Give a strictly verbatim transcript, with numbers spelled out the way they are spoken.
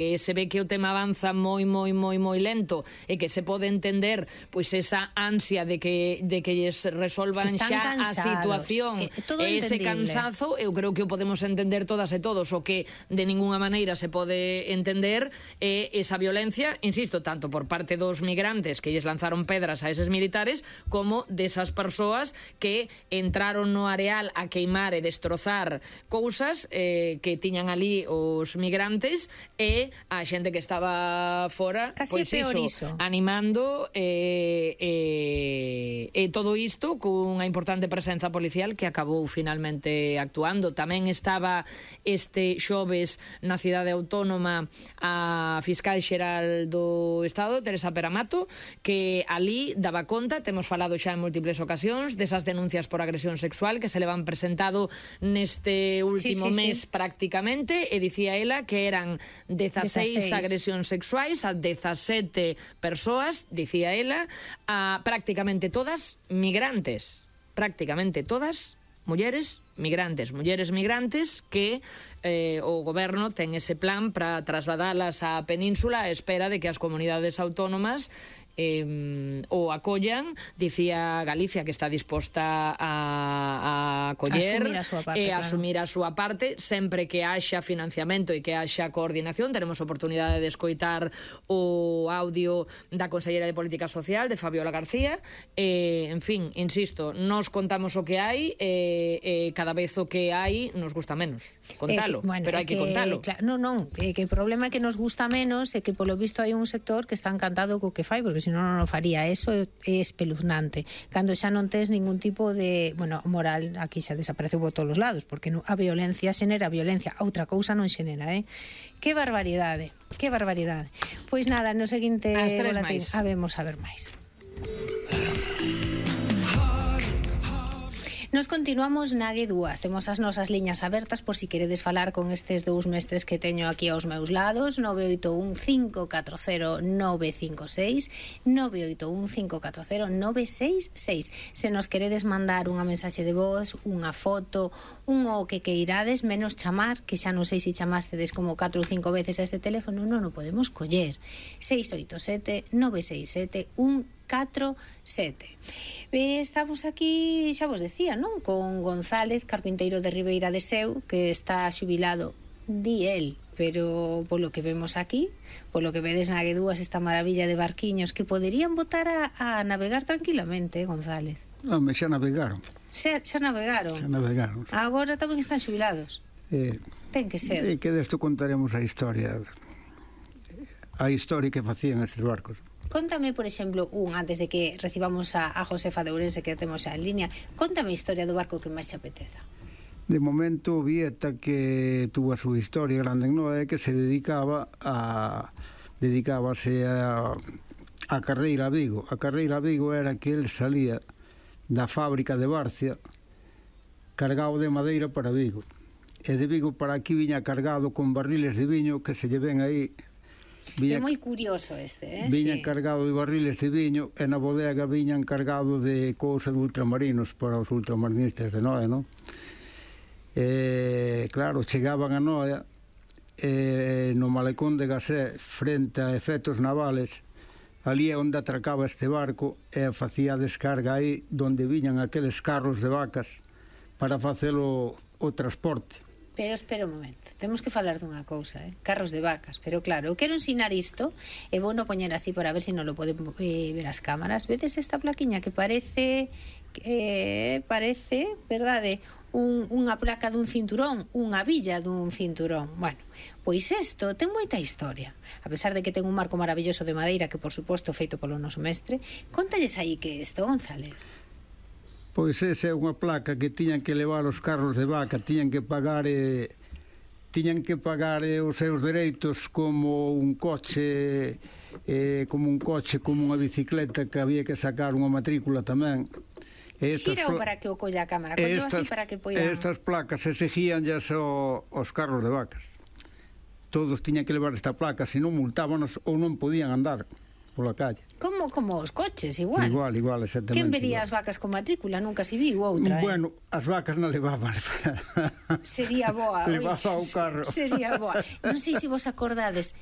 que se ve que o tema avanza moi, moi, moi, moi lento e que se pode entender pois esa ansia de que de que lles resolvan xa a situación e ese cansazo, eu creo que o podemos entender todas e todos. O que de ninguna maneira se pode entender é esa violencia, insisto, tanto por parte dos migrantes que lles lanzaron pedras a eses militares como desas persoas que entraron no areal a queimar e destrozar cousas eh, que tiñan ali os migrantes e a xente que estaba fora, casi pois iso, animando e, e, e todo isto cunha importante presenza policial que acabou finalmente actuando. Tamén estaba este xoves na cidade autónoma a fiscal xeral do Estado, Teresa Peramato, que ali daba conta, temos falado xa en múltiples ocasións, desas denuncias por agresión sexual que se le van presentado neste último sí, sí, mes sí. prácticamente, e dicía ela que eran dezaseis agresións sexuais a dezasete persoas, dicía ela, a prácticamente todas migrantes, prácticamente todas mulleres migrantes, mulleres migrantes que eh, o goberno ten ese plan para trasladalas á península a espera de que as comunidades autónomas eh, o acollan. Dicía Galicia que está disposta a, a acoller asumir a súa parte, e claro. asumir a súa parte sempre que haxa financiamento e que haxa coordinación. Teremos oportunidade de escoitar o audio da Conselleira de Política Social, de Fabiola García. Eh, en fin, insisto, nos contamos o que hai e eh, eh, cada vez o que hai nos gusta menos contalo, eh, que, bueno, pero hai que, que contalo. Claro, non, non, que, que o problema é que nos gusta menos e que polo visto hai un sector que está encantado co que fai, porque senón non o faría. Eso é espeluznante. Cando xa non tes ningún tipo de, bueno, moral, aquí xa desapareceu por todos os lados, porque non, a violencia xenera violencia, outra cousa non xenera, eh? Que barbaridade, que barbaridade. Pois nada, no seguinte boletín habemos a ver máis. Nos continuamos na G dúas. Temos as nosas liñas abertas por si queredes falar con estes dous mestres que teño aquí aos meus lados. nove oito un cinco catro cero nove cinco seis nove oito un cinco catro cero nove seis seis. Se nos queredes mandar unha mensaxe de voz, unha foto, un o que queirades, menos chamar, que xa non sei se chamastedes como catro ou cinco veces a este teléfono, non o podemos coller. seis oito sete nove seis sete un catro sete. Eh, estamos aquí, xa vos decía, non? Con González, carpinteiro de Ribeira de Seu, que está xubilado, di el, pero polo que vemos aquí, polo que vedes na G dúas, esta maravilla de barquiños que poderían botar a, a navegar tranquilamente, González. Non, xa navegaron. Xa, xa navegaron. Xa navegaron. Agora tamén están xubilados. Eh, Ten que ser. E que desto contaremos a historia, a historia que facían estes barcos. Contame, por exemplo, un, antes de que recibamos a, a Josefa de Ourense, que temos xa en línea, contame a historia do barco que máis te apeteza. De momento, Vieta, que tuvo a súa historia grande en Noé, que se dedicaba a dedicábase a, a carreira a Vigo. A carreira a Vigo era que el salía da fábrica de Barcia cargado de madeira para Vigo. E de Vigo para aquí viña cargado con barriles de viño que se lle ven aí. Viña, é moi curioso este, eh? Viñan sí. cargado de barriles de viño e na bodega viñan cargado de cousa de ultramarinos para os ultramarinistas de Noia, non? E, claro, chegaban a Noia e no malecón de Gasé, frente a efectos navales, ali é onde atracaba este barco e facía a descarga aí donde viñan aqueles carros de vacas para facelo o transporte. Pero espera un momento, temos que falar dunha cousa, eh? Carros de vacas, pero claro, eu quero ensinar isto e vou no poñer así para ver se non lo poden eh, ver as cámaras. Vedes esta plaquiña que parece eh, parece, verdade, un, unha placa dun cinturón, unha villa dun cinturón. Bueno, pois isto ten moita historia. A pesar de que ten un marco maravilloso de madeira, que por suposto feito polo noso mestre, contalles aí que isto, González. Pois esa é unha placa que tiñan que levar os carros de vaca, tiñan que pagar eh, tiñan que pagar eh, os seus dereitos como un coche eh, como un coche, como unha bicicleta que había que sacar unha matrícula tamén. Xira para que o colla a cámara, collo así para que poidan... Estas placas exigían ya so, os carros de vacas. Todos tiñan que levar esta placa, se non multábanos ou non podían andar pola calle. Como, como os coches, igual. Igual, igual, exactamente. Quen vería as vacas con matrícula? Nunca se viu outra, Bueno, eh? as vacas non levaban. Sería boa. Levaba o carro. Sería boa. Non sei se vos acordades,